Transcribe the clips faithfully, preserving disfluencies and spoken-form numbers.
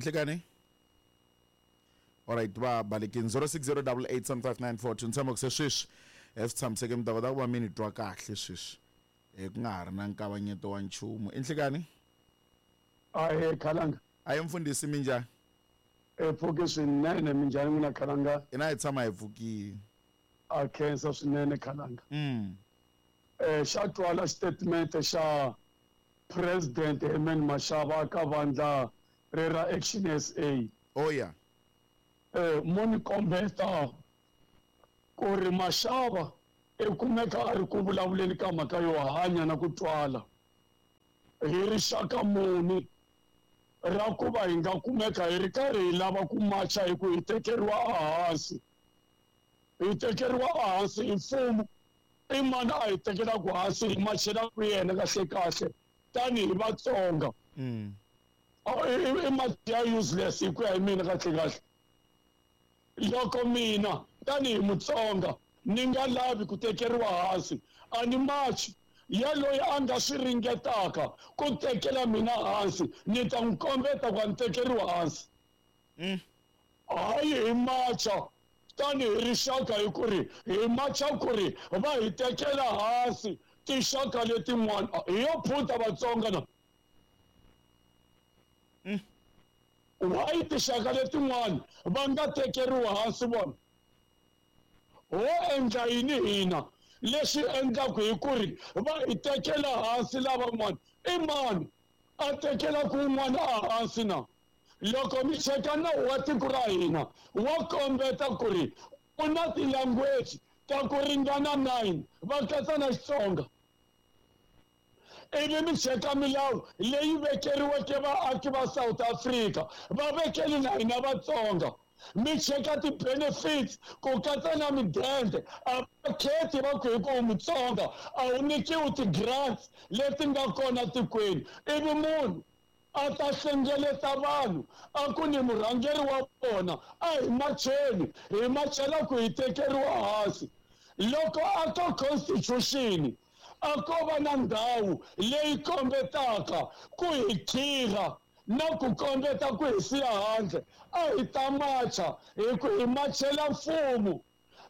Nhlikani. Alright, va balekini zero six zero double eight seven five nine four two. Ni tshama ku se sweswi eh, swi tshamiseke mi ta kota ku va mi ni twa kahle sweswi eh, ku nga ha ri na nkavanyeto wa nchumu. Nhlikani. Ahee Khalanga. Ayi mfundhisi, minjhani? E pfuke swinene, minjhani n'wina Khalanga? Hina hi tshama hi pfukile. A khensa swinene Khalanga. Mm. Eh xa twala statement xa President Herman Mashaba ka vandla re ra Action S A. Oh yeah. Eh mo ni kombeta ku ri Mashaba i kumeka a ri ku vulavuleni ka mhaka yo hanya na ku twala. Hi rixaka muni ra ku va hi nga kumeka hi ri karhi hi lava ku macha hi ku hi tekeriwa ehansi. Hi tekeriwa ehansi hi mfumo. I mani a hi tekelaka hansi hi machelaka yena kahle kahle tanihi Vatsonga. Mm. I mati ya useless hi ku ya hi mina kahle kahle. Loko mina tanihi Mutsonga ni nga lavi ku tekeriwa hansi, a ni machi ya loyi a nga swi ringetaka ku tekela mina hansi, ni ta n'wi kombeta ku a ni tekeriwa hansi. Mm. Hayi hi macha tanihi rixaka hi ku ri hi macha ku ri va hi tekela hansi tinxaka letin'wana. Hi yo phunta Vatsonga na. Mm. Why tinxaka letin'wana va nga tekeriwa hansi vona? Ho endla yini hina leswi endlaku hi ku ri va hi tekela hansi lavan'wana? I mani a tekelaka un'wana ehansi na? Loko mi cheka nawu wa tiko ra hina wa kombeta ku ri ku na ti-language ta ku ringana nine va katsa na Xitsonga. Ivi mi cheka milawu leyi vekeriweke vaaki va South Africa, va vekeli na hina Vatsonga. Mi cheka ti-benefits ku katsa na midende, a va khethi va ku hi ku u Mutsonga a wu nyikiwi ti-grants leti nga kona tikweni. Ivi munhu a ta hlengeleta vanhu a ku ni murhangeri wa vona, a hi macheni, hi machela ku hi tekeriwa hansi. Loko a ka constitution a ko va na ndhawu leyi kombetaka ku hi khira na ku kombeta ku hi siya handle, a hi ta macha hi ku hi machela mfumo.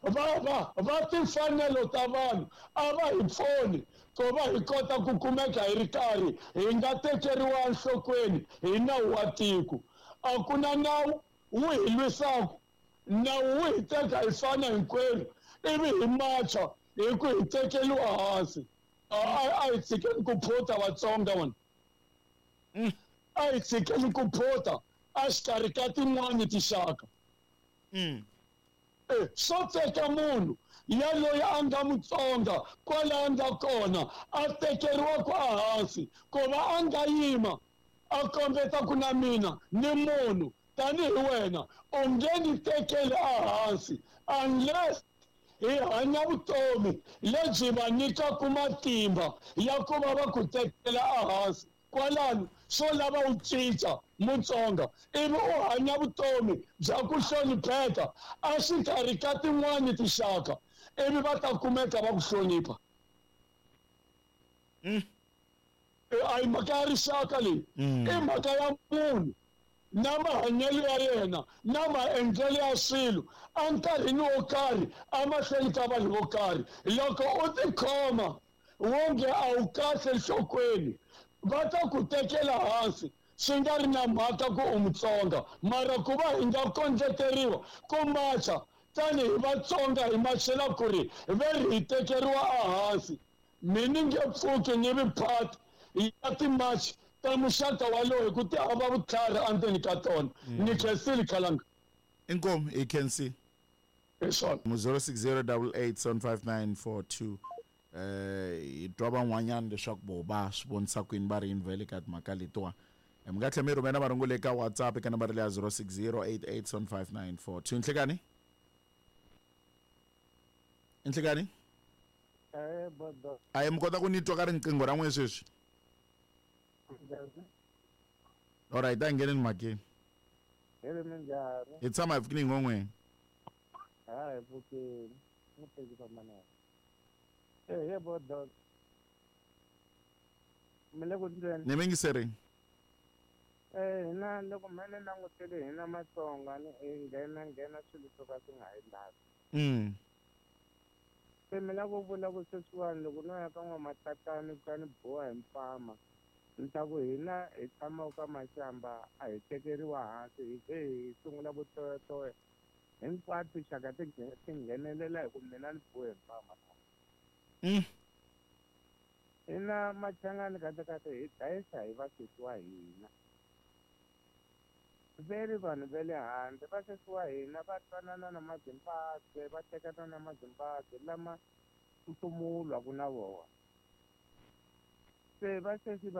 Va, va, va timfanelo ta vanhu a va hi pfuni ku va hi kota ku kumeka hi ri karhi hi nga tekeriwa enhlokweni hi nawu wa tiko. A ku na nawu wu hi lwisaka, nawu wu hi teka hi fana hinkwenu, ivi hi macha hi ku hi tekeriwa hansi. A, a, a hi tshikeni ku phota Vatsonga vona. Mm. A hi tshikeni ku phota exikarhi ka tin'wani tinxaka. Mm. Eh, swo teka munhu ya loyi a nga Mutsonga kwala a nga kona a tekeriwa ku ehansi ku va a nga yima a kombeta ku na mina ni munhu tanihi wena u nge ni tekeli ehansi unless hi hanya vutomi lebyi va nyikaka matimba ya ku va va ku tekela ehansi. Kwalano swo lava u cinca Mutsonga ivi u hanya vutomi bya ku hlonipheka exikarhi ka tin'wani tinxaka, ivi va ta kumeka va ku hlonipha. Mm. A hi mhaka ya rixaka leyi, Mm. i mhaka ya munhu na mahanyelo ya yena na maendlelo ya swilo enkarhini wo karhi emahlweni ka vanhu vo karhi. Loko u tikhoma wonge a wu kahle enhlokweni, va ta ku tekela hansi swi nga ri na mhaka ku u Mutsonga. Mara ku va hi nga kondleteriwa ku macha tanihi Vatsonga hi machela ku ri ve ri hi tekeriwa ehansi, mi ni nge pfuki ni vi part ya timachi ta muxaka walowo hi ku ti hava vutlhari endzeni ka tona. Ni khensile Khalanga. Inkomu, hi khensile. Hi swona. zero six zero double eight seven five nine four two. Eh, hi twa van'wanyana leswaku vo va swi vonisa kwini va ri yini vhele ka timhaka letiwa. Mi nga tlhela mi rhumela marungulo eka WhatsApp eka nambara leya zero six zero eight eight seven five nine four two. Nhlikani? Nhlikani? Eh, bodo. A hi mi kota ku ni twa ka riqingho ra n'wina sweswi? Alright, a hi ngheneni mhakeni. Hi ri minjhani? Hi tshama hi pfukile hi n'we. Ha, hi pfukile. N'wi tekisa manana. Eh, he bodo. Mi le ku ndleni? Ni mi yingiserini. Eh, hina loko me ni langutele hina Matsonga ni hi nghena nghena swilo swo ka swi nga hi lavi. Mm. Se mi lava ku vula ku sweswiwani loko no ya ka n'wamatatani ka ni boha hi mpama ni ta ku hina hi tshamaka ka Mashamba a hi tekeriwa hansi hi ze hi sungula ku toyatoya hinkwato tinxaka ti nghe- ti nghenelela hi ku mina ni bohe hi mpama. Mm. Hina Machangani kahle kahle hi dlayisa hi vasesi wa hina. Ve ri vanhu va le handle vasesi wa hina va twanana na Mazimbabwe va tekana na Mazimbabwe lama mfumo wu lwaka na vona. Se vasesi va